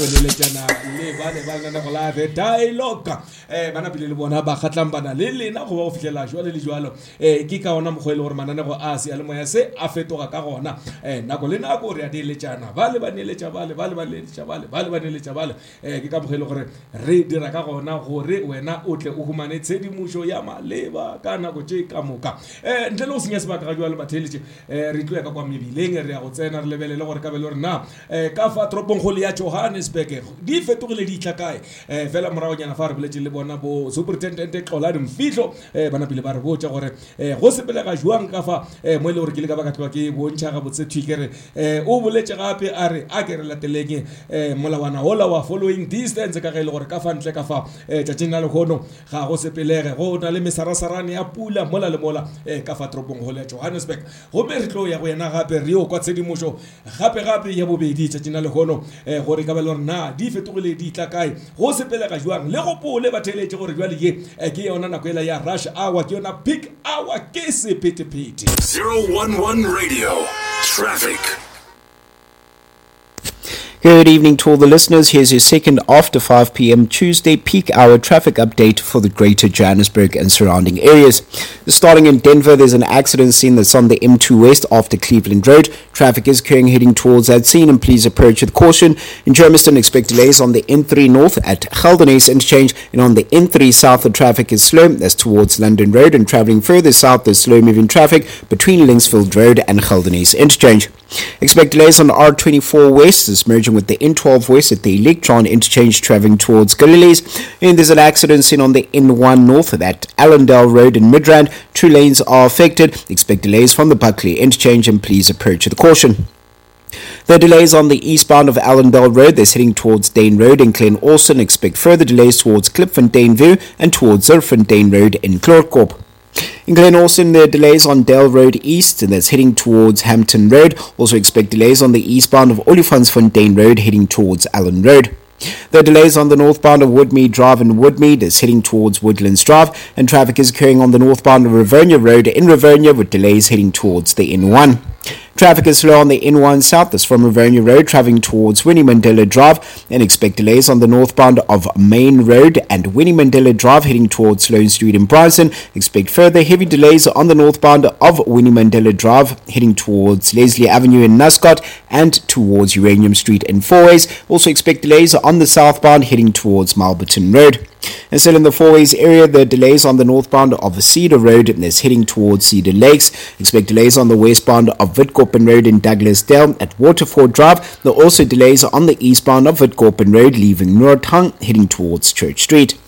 Leletšana le bale ba lenanego la The Dialogue. Um ba napile le bona ba kgatlambana le lena go ba go fihlela jwale le jwalo. Um ke ka ona mokgwa e le gore mananego a seyalemoya se a fetoga ka gona. Um nako le nako re a neeletšana, bale ba neeletša bale, bale ba neeletša bale, bale ba neeletša bale. Um ke ka mokgwa e le gore re dira ka gona gore wena o tle o humane tshedimošo ya maleba ka nako tše ka moka. Um ntle le go senya sebaka ga jwale batheeletše, um re tlo ya ka kwa mebileng, re ya go tsena re lebelele gore ka be le gore na um ka fa toropongkgolo ya Johannesburg di fetogile di itla kae. Um fela moragonyana fa re boletše le bona bo Superintendent Xolani Mfihlo, um ba napile ba re botša gore um go sepelega jwang ka fa, um mo e le gore ke le ka ba ka tloga ke bontšha gabotse thwi ke re um o boletše gape a re a ke re lateleng um molawana ola wa following distance ka ge e le gore ka fa ntle ka fa um tšatšing la lehono ga go sepelege, go na le mesarasarane ya pula mola le mola um ka fa toropongkgolo ya Johannesburg. Gomme re tlo ya go yena gape re yo kwa tshedimošo gape-gape ya bobedi tšatšing la lehono, eh, gore ka ba le gore na di fetogile di tla kae, go sepelega jwang. Le gopole batheeletše gore jwale ye eh, ke yona nako ela ya rush hour, ke yona peak hour, ke sephethephethe. 011 Radio, Traffic. Good evening to all the listeners. Here's your second after 5 p.m. Tuesday peak hour traffic update for the greater Johannesburg and surrounding areas. Starting in Denver, there's an accident scene that's on the M2 West after Cleveland Road. Traffic is occurring heading towards that scene, and please approach with caution. In Germiston, expect delays on the N3 North at Geldenhuys Interchange, and on the N3 South, the traffic is slow. That's towards London Road, and traveling further south, there's slow moving traffic between Linksfield Road and Geldenhuys Interchange. Expect delays on R24 West, is merging with the N12 West at the Electron Interchange traveling towards Galilees. And there's an accident seen on the N1 North at Allendale Road in Midrand. 2 lanes are affected. Expect delays from the Buckley Interchange, and please approach with caution. The delays on the eastbound of Allendale Road, that's heading towards Dane Road in Glen Austin. Expect further delays towards Klipfontein View and towards Zerfontein Road in Chloorkop. In Glen Austin, there are delays on Dale Road East, and that's heading towards Hampton Road. Also expect delays on the eastbound of Olifantsfontein Road, heading towards Allen Road. There are delays on the northbound of Woodmead Drive in Woodmead, that's heading towards Woodlands Drive, and traffic is occurring on the northbound of Rivonia Road in Rivonia, with delays heading towards the N1. Traffic is slow on the N1 South, that's from Rivonia Road, traveling towards Winnie Mandela Drive, and expect delays on the northbound of Main Road and Winnie Mandela Drive, heading towards Sloane Street in Bryanston. Expect further heavy delays on the northbound of Winnie Mandela Drive, heading towards Leslie Avenue in Nascot and towards Uranium Street in Fourways. Also expect delays on the southbound, heading towards Mulbarton Road. And still in the Fourways area, the delays on the northbound of Cedar Road is heading towards Cedar Lakes. Expect delays on the westbound of Witkoppen Road in Douglasdale at Waterford Drive. There are also delays on the eastbound of Witkoppen Road, leaving Noordhang, heading towards Church Street.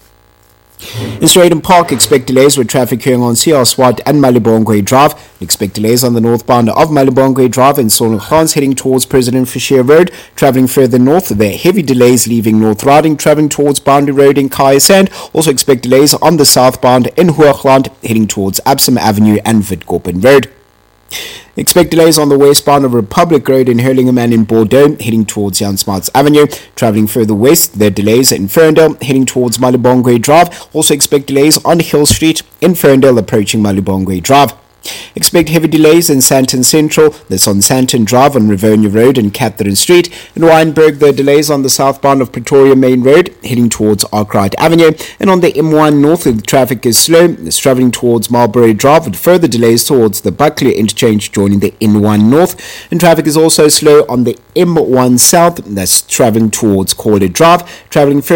In Strijdom Park, expect delays with traffic occurring on CR Swart and Malibongwe Drive. Expect delays on the northbound of Malibongwe Drive and Solonglans heading towards President Fisher Road. Travelling further north, there are heavy delays leaving North Riding, travelling towards Boundary Road in Kya Sand. Also expect delays on the southbound in Hoogland, heading towards Epsom Avenue and Witkoppen Road. Expect delays on the westbound of Republic Road in Hurlingham and in Bordeaux, heading towards Jan Smuts Avenue. Travelling further west, there are delays in Ferndale, heading towards Malibongwe Drive. Also expect delays on Hill Street in Ferndale, approaching Malibongwe Drive. Expect heavy delays in Sandton Central, that's on Sandton Drive on Rivonia Road and Catherine Street. In Wynberg, there are delays on the southbound of Pretoria Main Road, heading towards Arkwright Avenue. And on the M1 North, the traffic is slow. It's travelling towards Marlborough Drive with further delays towards the Buckley Interchange joining the N1 North. And traffic is also slow on the M1 South, that's travelling towards Corley Drive. Travelling further